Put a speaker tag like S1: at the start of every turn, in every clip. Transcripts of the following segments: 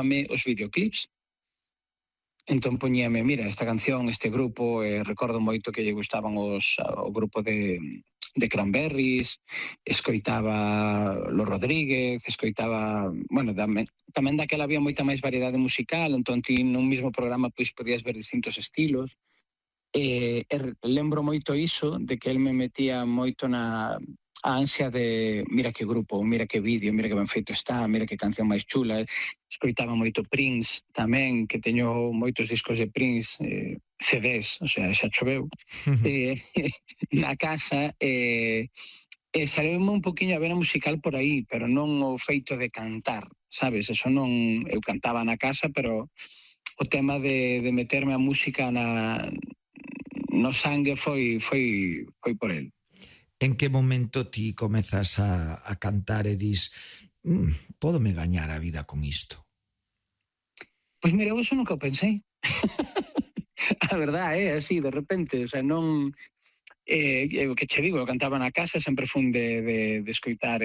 S1: os videoclips. Entón poñíame, mira, esta canción, este grupo, recordo moito que lle gustaban o grupo de Cranberries, escoitaba Los Rodríguez, escoitaba, bueno, tamén daquela había moita máis variedade musical, entón ti nun mesmo programa pois podías ver distintos estilos. Lembro moito iso, de que el me metía moito na a ansia de mira que grupo, mira que vídeo, mira que ben feito está, mira que canción máis chula. Escoitaba moito Prince tamén, que teño moitos discos de Prince, CDs, o sea, xa choveu, na casa, saleume un poquinho a ver a musical por aí, pero non o feito de cantar, sabes? Eso non, eu cantaba na casa, pero o tema de meterme a música no sangue foi por el.
S2: En que momento ti comezas a cantar e dis pódome gañar a vida con isto?
S1: Pois mira, eu eso nunca o pensei. A verdade é así, de repente, o sea, non... o que che digo, eu cantaba na casa, sempre fun de escoitar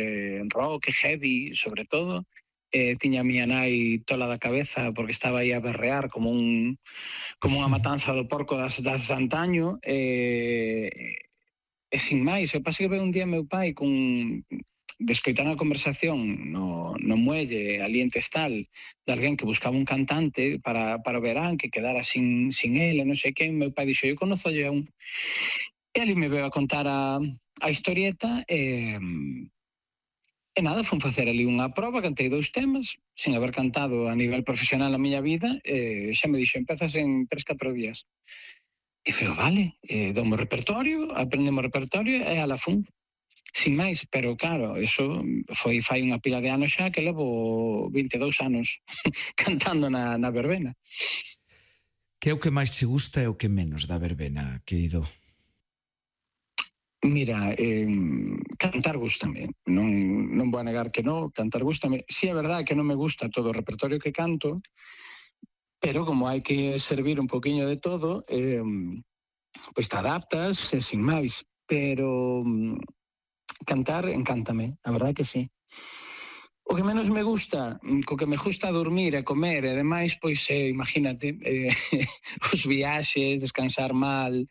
S1: rock, heavy, sobre todo. Tiña a miña nai tola da cabeza porque estaba aí a berrear como unha matanza do porco das antaño, e sin máis. O pasa que veo un día meu pai de escoitar a conversación no muelle ali en Testal de alguén que buscaba un cantante para o verán, que quedara sin ele, non sei quen. Meu pai dixo, eu conozo a un. E ali me veo a contar a historieta e nada, fun facer ali unha proba, cantei 2 temas sin haber cantado a nivel profesional na miña vida, e xa me dixo, empezas en 3-4 días. E digo, vale, doume o repertorio, aprendemos o repertorio e ala fun. Sin máis, pero claro, eso foi fai unha pila de anos xa, que levo 22 anos cantando na verbena.
S2: Que é o que máis che gusta e o que menos da verbena, querido?
S1: Mira, cantar gústame, non vou a negar que non, cantar gústame. Si é verdade que non me gusta todo o repertorio que canto, pero como hai que servir un poquinho de todo, pois te adaptas, sin máis. Pero cantar encántame, a verdade que sí. O que menos me gusta, co que me gusta dormir e comer e demais, pois imagínate, os viaxes, descansar mal,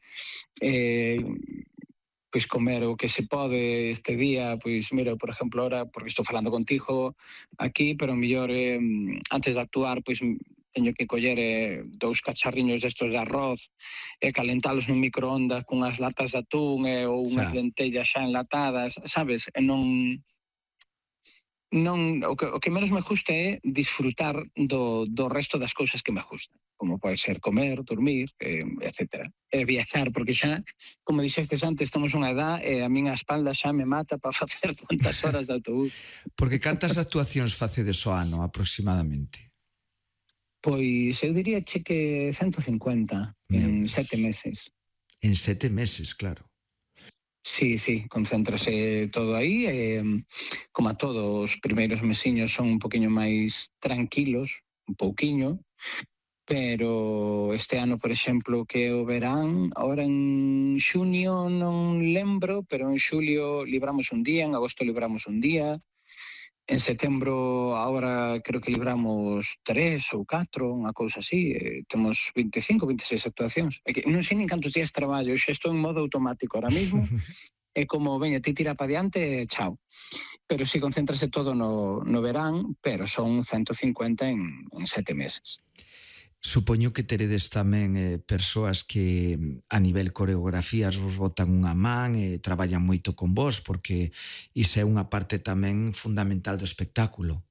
S1: pois comer o que se pode este día, pois mira, por exemplo, ahora, porque estou falando contigo aquí, pero mellor antes de actuar, pois teño que coller 2 cacharriños destos de arroz e calentalos nun microondas cunhas latas de atún ou unhas lentellas xa enlatadas, sabes? E non o que menos me gusta é disfrutar do resto das cousas que me gustan, como pode ser comer, dormir, etcétera. E viaxar, porque xa, como dixestes antes, estamos unha edad e a miña espalda xa me mata para facer tantas horas de autobús.
S2: Porque cantas actuacións facedes ao ano, aproximadamente?
S1: Pois eu diría que 150 en 7 meses.
S2: En 7 meses, claro.
S1: Sí, concéntrase todo aí, como a todos, os primeiros mesiños son un poquinho máis tranquilos, un pouquiño, pero este ano, por exemplo, que o verán, ahora en xunio non lembro, pero en xulio libramos un día, en agosto libramos un día, en setembro agora creo que libramos 3 ou 4, unha cousa así, temos 25, 26 actuacións. Non sei nin cantos días traballo, xa estou en modo automático ahora mismo, é como, veña, ti tira para diante, chao. Pero si concéntrase todo no verán, pero son 150 en 7 meses.
S2: Supoño que teredes tamén persoas que a nivel coreografías vos botan unha man e traballan moito con vos, porque iso é unha parte tamén fundamental do espectáculo.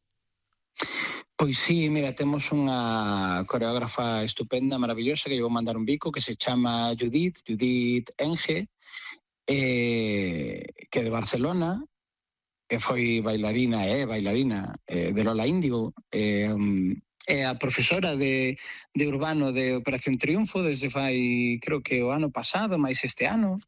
S1: Pois sí, mira, temos unha coreógrafa estupenda, maravillosa, que lle vou mandar un bico, que se chama Judith Enge, que é de Barcelona, que foi bailarina de Lola Índigo, é a profesora de urbano de Operación Triunfo desde fai, creo que o ano pasado, máis este ano.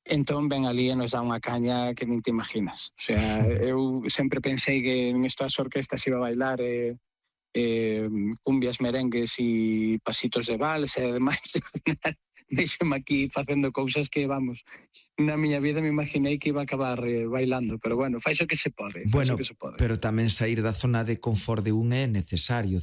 S1: Entón ven ali e nos dá unha caña que nin te imaginas. O sea, eu sempre pensei que nestas orquestas iba a bailar cumbias, merengues e pasitos de vals e demais. Deixome aquí facendo cousas que, vamos, na miña vida me imaginei que iba a acabar bailando, pero bueno, fai o que se pode.
S2: Bueno, pero tamén sair da zona de confort de un é necesario,